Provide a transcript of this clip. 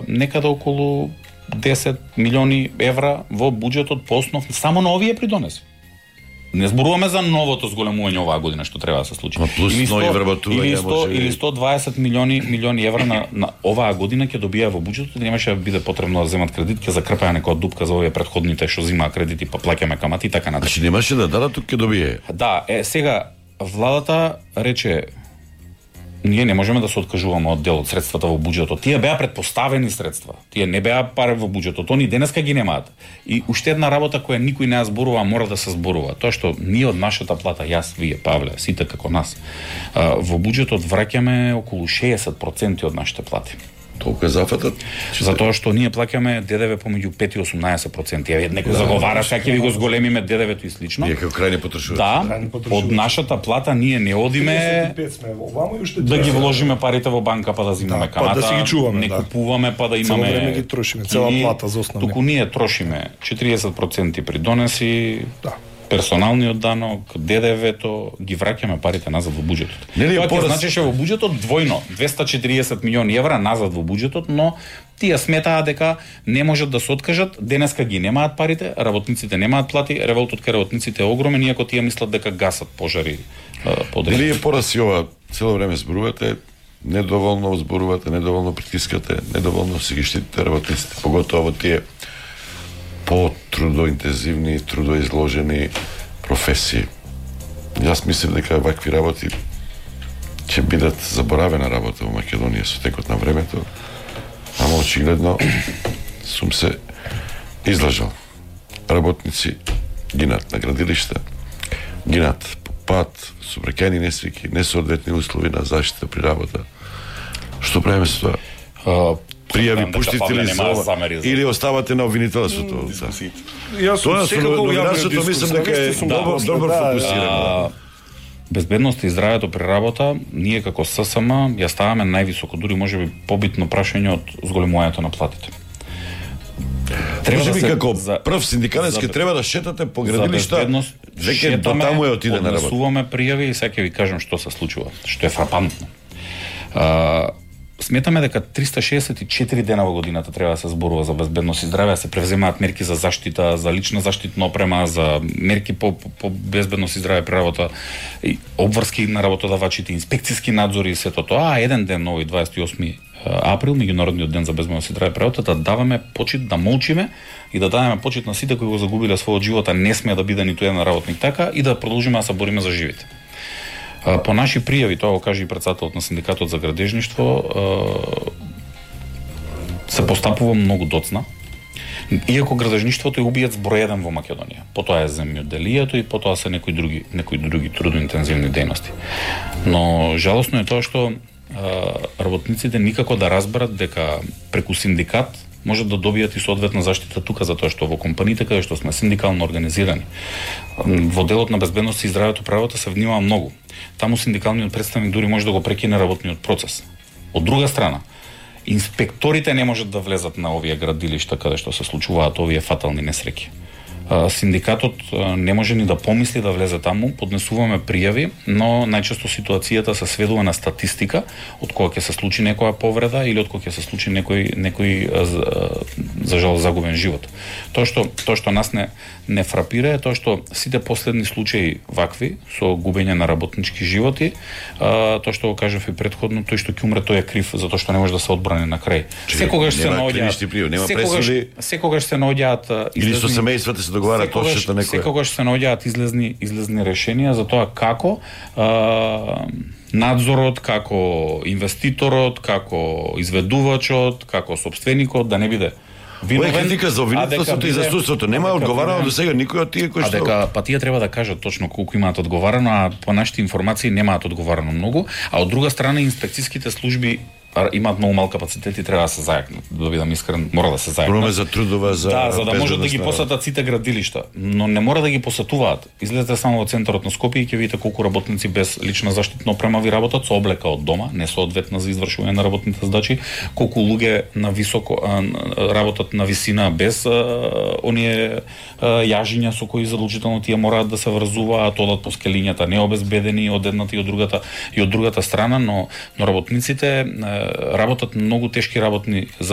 некаде околу 10 милиони евра во буџетот по основ само на овие придонеси. Не зборуваме за новото зголемување оваа година што треба да се случи. Или 120 милиони евра на оваа година ќе добија во буџетот, немаше да биде потребно да земат кредит, ќе закрпаја некоја дупка за овие претходните што земаа кредити па плаќаме камати и така натаму. Значи немаше да дадат, тук ќе добие. Да, сега владата рече ние не можеме да се откажуваме од дел од средствата во буџетот. Тие беа претпоставени средства. Тие не беа пари во буџетот. Они денеска ги немаат. И уште една работа која никој не ја зборува, мора да се зборува. Тоа што ние од нашата плата, јас, вие, Павле, сите како нас, во буџетот враќаме околу 60% од нашите плати. Толку е зафатат? Затоа што ние плаќаме ДДВ помеѓу 5 и 18%. Ја некој заговара дека ќе ви го зголемиме ДДВ-то и слично. Ние како крајни потрошувачи. Да, од нашата плата ние не одиме да ги вложиме парите во банка па да земеме камата. Па да си ги чуваме, не купуваме па да имаме. Цело време ги трошиме, цела плата за основни. Туку ние трошиме 40% придонеси. Да. Персоналниот данок, ДДВ-то, ги враќаме парите назад во буџетот. Тоа ќе значеше во буџетот двојно, 240 милиони евра назад во буџетот, но тие сметаа дека не можат да се откажат, денеска ги немаат парите, работниците немаат плати, револтот кај работниците е огромен, иако тие мислат дека гасат пожари подред. Дали е пораси ова, цело време зборувате, недоволно зборувате, недоволно притискате, недоволно си ги штитите работниците, поготово во тие по-трудоинтензивни, трудоизложени професии. Јас мислам дека вакви работи ќе бидат заборавена работа во Македонија со текот на времето, ама очигледно сум се излажал. Работници гинат на градилишта, гинат по пат, сообраќајни несреќи, несоодветни услови на заштита при работа. Што правиме со тоа? Пријави пуштите ли за ова? Или оставате на обвинителството? Јас секако новинарството мислам дека е добро фокусирано. Безбедноста и здравјето при работа, ние како ССМ ја ставаме највисоко, дури можеби побитно прашање од зголемувањето на платите. Треба да се како прв синдикалистки треба да шетате по градилишта, веќе до таму е отиде на работа. Однесуваме пријави и сега ќе ви кажам што се случува, што е фрапантно. Сметаме дека 364 дена во годината треба да се зборува за безбедност и здравје, се превземаат мерки за заштита, за лична заштитна опрема, за мерки по безбедност и здравје при работа, и обврски на работодавачите, инспекциски надзори и сето тоа. Еден ден, овој 28 април, меѓународниот ден за безбедност и здравје при работа, да даваме почит, да молчиме и да дадеме почит на сите кои го загубиле својот живот, а не смее да биде ниту еден работник така, и да продолжиме да се бориме за живите. По наши пријави, тоа го каже и претседателот на синдикатот за градежништво, се постапува многу доцна. Иако градежништвото е убиец број 1 во Македонија. Потоа е земјоделието и потоа се некои други трудоинтензивни дејности. Но жалосно е тоа што работниците никако да разберат дека преку синдикат можат да добијат и соодветна заштита тука, затоа што во компаниите каде што сме синдикално организирани, во делот на безбедност и здравјето при работа се внимава многу. Таму синдикалниот представник дури може да го прекине работниот процес. Од друга страна, инспекторите не можат да влезат на овие градилишта каде што се случуваат овие фатални несреќи. Синдикатот не може ни да помисли да влезе таму, поднесуваме пријави, но најчесто ситуацијата се сведува на статистика од кога ќе се случи некоја повреда или од кога ќе се случи некој за жал загубен живот. Тоа што нас не фрапира е тоа што сите последни случаи вакви со губење на работнички животи, тоа што го кажав и претходно, тој што ќе умре тој е крив затоа што не може да се одбрани на крај. Секогаш се наоѓаат или со семејствата се договара точно некој. Секогаш се наоѓаат излезни решенија за тоа како надзорот, како инвеститорот, како изведувачот, како собственикот да не биде виновен. Ова е критика за обвинителството и за судството. Нема одговарано до сега никој од тие кои што. Па тие треба да кажат точно колку имаат одговарано, а по нашите информации немаат одговарано многу, а од друга страна инспекцијските служби имаат многу мал капацитет и треба да се зајакнат. Да бидам искрен, мора да се зајакнат. Проме за трудова, за за да можат да ги посетат сите градилишта, но не мора да ги посетуваат. Излезете само во центарот на Скопје и ќе видите колку работници без лична заштитна опрема ви работат со облека од дома, не соодветна за извршување на работните задачи, колку луѓе на високо работат на висина без оние јажиња со кои задолжително тие мораат да се врзуваат, одат по скелињата необезбедени од едната и од другата страна, но работниците работат многу тешки работни